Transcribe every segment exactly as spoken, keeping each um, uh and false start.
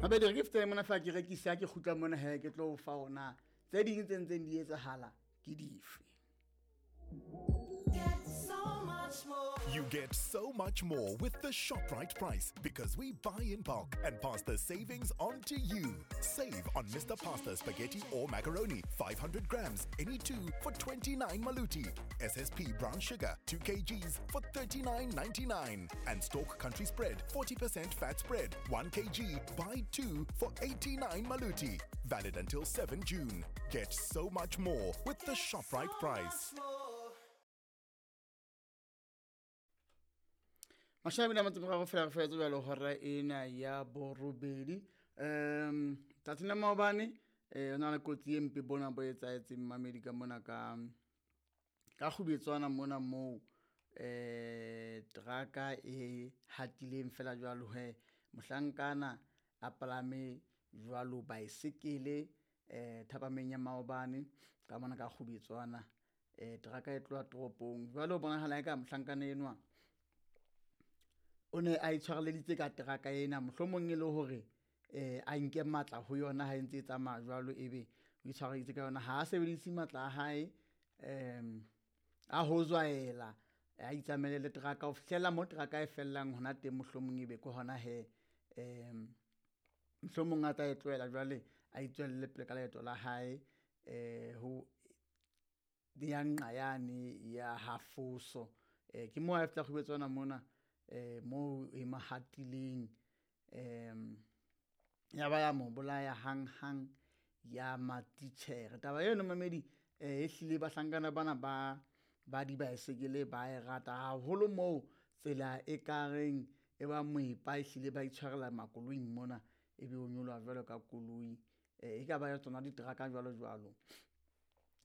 Hape di re ke fetele mona fa ke rekisa ke kgutla mona he ke tlo o fa ona tse ding tse ntseng di etsahala ke dife. Get so much more. You get so much more with the ShopRite price because we buy in bulk and pass the savings on to you. Save on Mister Pasta spaghetti or macaroni, five hundred grams, any two for twenty-nine maluti. S S P brown sugar, two kilograms for thirty-nine ninety-nine. And Stork Country Spread, forty percent fat spread, one kilogram, buy two for eighty-nine maluti. Valid until seven June. Get so much more with the Get ShopRite so price. much more. Mashabi na motse moraro fela re fetse jwalo hora ena ya borobedi. Um, tsatsing la maobane, eh, ho na le kotsi e mpe bona bo etsahetseng mamedi ka mona ka, ka Kgubetswana mona moo, eh, teraka e hatileng fela jwalo he mohlankana a palame jwalo baesekele, eh, thapameng ya maobane ka mona ka Kgubetswana. Eh, teraka e tloha toropong. Jwale ho bonahala eka mohlankana enwa o ne a itshwareleditse ka teraka ena, mohlomong e le hore, eh, a nke matla ho yona ha e ntse e tsamaya jwalo, ebe o itshwareleditse ka yona. Ha a sebedise matla a hae, em, a ho zwaela, a itsamaele le teraka ho fihlela mo teraka e fellang hona teng, mohlomong ebe ke hona he, em, mohlomong a tla e tlohela jwale a itswelle pele ka leeto la hae, eh, ho ya nqa yane ya Hafoso. Eh, ke moo a fihla Kgubetswana mona, eh, moo e mo hatileng, em, ya ba ya mo bolaya hanghang ya matitjhere. Taba eno mamedi, eh, ehlile bahlankana bana ba, ba dibaesekele ba e rata haholo moo tsela e kareng e ba moepa, ehlile ba itshwarela makoloing mona, ebe o nyoloha jwalo ka koloi, eh, e ka ba ya tsona diteraka jwalo jwalo.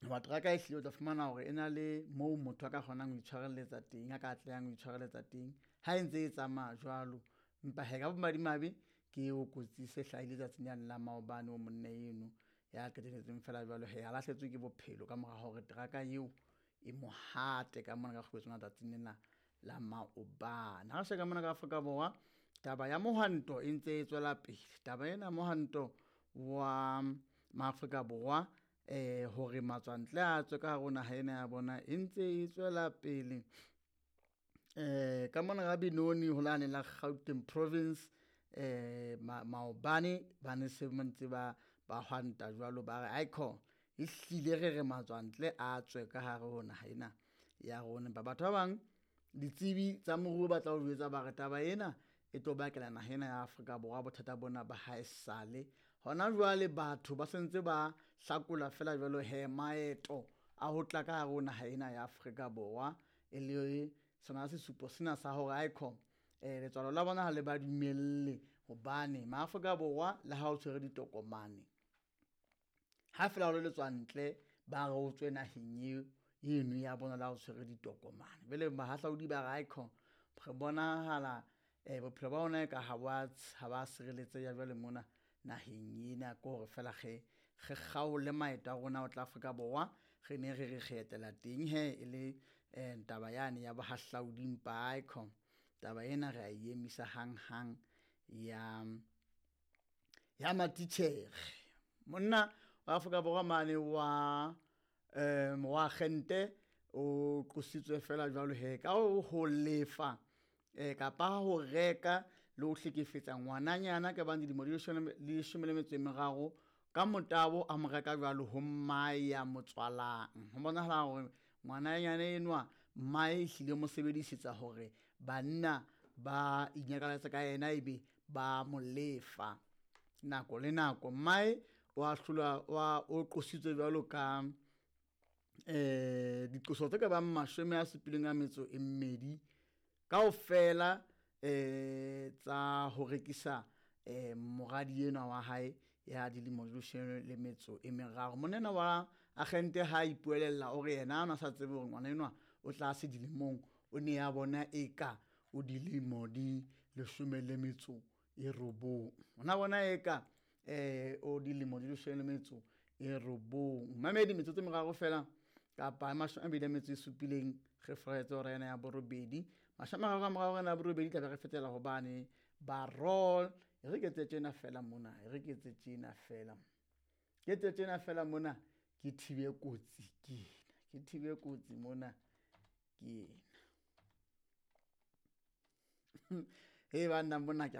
Hoba teraka ehlile o tla fumana hore e na le moo motho a ka kgonang ho itshwareletsa teng, a ka atlehang ho itshwareletsa teng ha e ntse e tsamaya jwalo. Empa he, ka bomadimabe ke eo kotsi se hlahile tsatsing lane la maobane o monna eno ya qetelletseng fela jwalo he a lahletswe ke bophelo ka mora hore teraka eo e mo hate ka mona ka Kgubetswana tsatsing lena la maobane. Ha re sheba mona ka Afrika Borwa, taba ya mohwanto e ntse e tswela pele. Taba ena ya mohwanto wa Maafrika Borwa, eh, hore matswantle a tswe ka hare ho naha ena ya bona e ntse e tswela pele. Eh, ka mona ka Benoni ho lane la Gauteng province, eh, ma-, maobane ba ne se ba ntse ba, ba hwanta jwalo, ba re aikho ehlile re re matswantle a tswe ka hare ho naha ena ya rona. Empa batho ba bang ditsebi tsa moruo ba tla o jwetsa ba re taba ena e tlo bakela naha ena ya Afrika Borwa bothata bona ba haesale. Hona jwale batho ba sentse ba hlakola fela jwalo he maeto a ho tla ka hare ho naha ena ya Afrika Borwa, e le sona sesupo sena sa hore aikho, eh, letswalo la bona ha le ba dumelle, hobane Maafrika Borwa le ha o tshwere ditokomane, ha fela o le letswantle ba re o tswe naheng eo eno ya bona le ha o tshwere ditokomane. Jwale bahahlaudi ba re aikho re bonahala, eh, bophelo ba bona eka ha ba tsh-, ha ba sireletseha jwale mona naheng ena, ke hore fela re, re kgaole maeto a rona ho tla Afrika Borwa, re ne re re re etela teng he e le, eh, taba yane ya bohahlaudi. Empa aikho taba ena re a e emisa hanghang ya, ya matitjhere. Monna wa Afrika Borwa mane wa, eh, wa Gente o qositswe fela jwalo he ka ho lefa, eh, kapa ho reka le ho hlekefetsa ngwananyana ka bang dilemo di leshome le leshome le metso e meraro ka motabo, a mo reka jwalo ho mmae ya mo tswalang. Ho bonahala hore ngwananyana enwa mmae ehlile mo sebedisetsa hore banna ba inyakaletse ka yena ebe ba mo lefa nako le nako. Mmae wa hlolwa, wa, o qositswe jwalo ka, eh, diqoso tse ka bang mashome a supileng a metso e mmedi kaofela, eh, tsa ho rekisa, eh, moradi enwa wa hae ya dilemo di leshome le metso e meraro. Monna wa agente ha ipuelella o re yena a na sa tsebe hore ngwana enwa o tlase dilemong, o ne a bona eka o dilemo di leshome le metso e robong. O na bona eka, eh, o dilemo di leshome le metso e robong. Mamedi metsotso e meraro fela kapa mashome a mabedi a metso e supileng re furetse hora ena ya borobedi. Mashome a mararo a morao hora ena ya borobedi tla be re fetela hobane ba roll E re ke etse tjena fela mona, e re ke etse tjena fela. Ke etse tjena fela mona, ke thibe kotsi ke ena, ke thibe kotsi mona ke ena. Hei banna mona ke a.